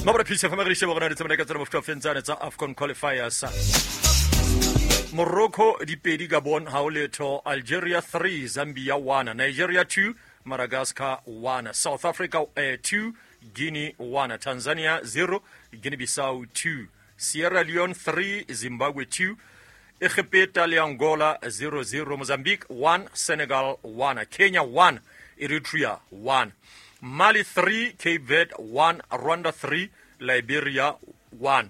Mabra Peace FM re sheba gona di tsamaya ka tsela mofuta ofeng tsane tsa AFCON qualifiers. Morocco dipedi Gabon ha o letho, Algeria 3, Zambia 1, Nigeria 2, Madagascar 1, South Africa 2, Guinea 1, Tanzania 0, Guinea-Bissau 2, Sierra Leone 3, Zimbabwe 2, Egepeta le Angola 0-0, Mozambique 1, Senegal 1, Kenya 1, Eritrea 1, Mali 3, Cape Verde 1, Rwanda 3, Liberia 1,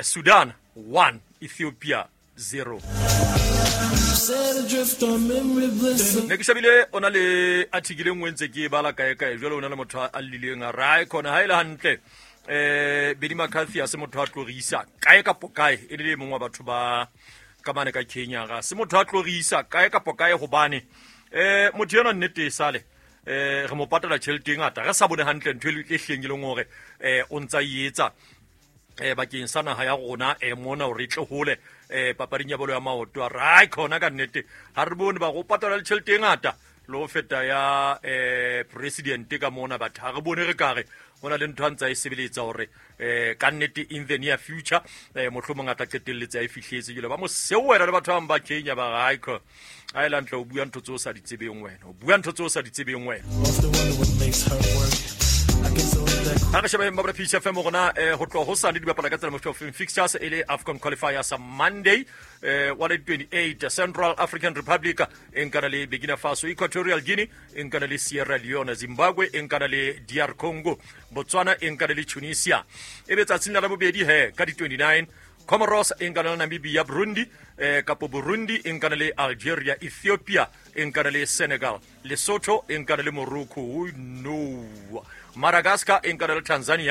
Sudan 1, Ethiopia 0. Ne ke shabile o na le article e nngwe ntse ke e bala kae kae jalo o na le motho a lileng a re ai khona ha e le hantle eh Benny McCarthy a se motho a tlo re isa kae kapo kae e le mongwe wa batho ba ka mane ka Kenya ga se motho a tlo re isa kae kapo kae hobane eh motho ena nnete e sale eh re mo patala tjhelete e ngata re sa bone hantle ntho e hleng e leng hore eh o ntsa e etsa eh bakeng sa naha ya rona eh mona hore e tle hole eh papading ya bolo ya maoto a re khona ka nnete ha re bone ba go patala le tjhelete e ngata le ho feta ya eh president ka mona batho ha re bone re kare ho na le ntho a ntsa e sebeletsa hore eh ka nnete in the near future eh mohlomong a tla qetelletse a e fihletse jwale ba mo sewela le batho ba bang ba Kenya ba re haikho a e lantle o bua ntho tse o sa di tsebeng wena o bua ntho tse o sa di tsebeng wena. Ha re shebeng ba Peace FM rona eh, ho tloha hosane di bapala ka tsela mofuta ofeng fixtures e le AFCON qualifiers Monday eh, wa le 28 Central African Republic e nkana le Burkina Faso, Equatorial Guinea e nkana le Sierra Leone, Zimbabwe e nkana le DR Congo, Botswana e nkana le Tunisia. E be tsatsing la labobedi he ka di 29 Comoros e nkana le Namibia, Burundi eh, kapo Burundi e nkana le Algeria, Ethiopia e nkana le Senegal, Lesotho e nkana le Morocco, no Madagascar e nkana le Tanzania.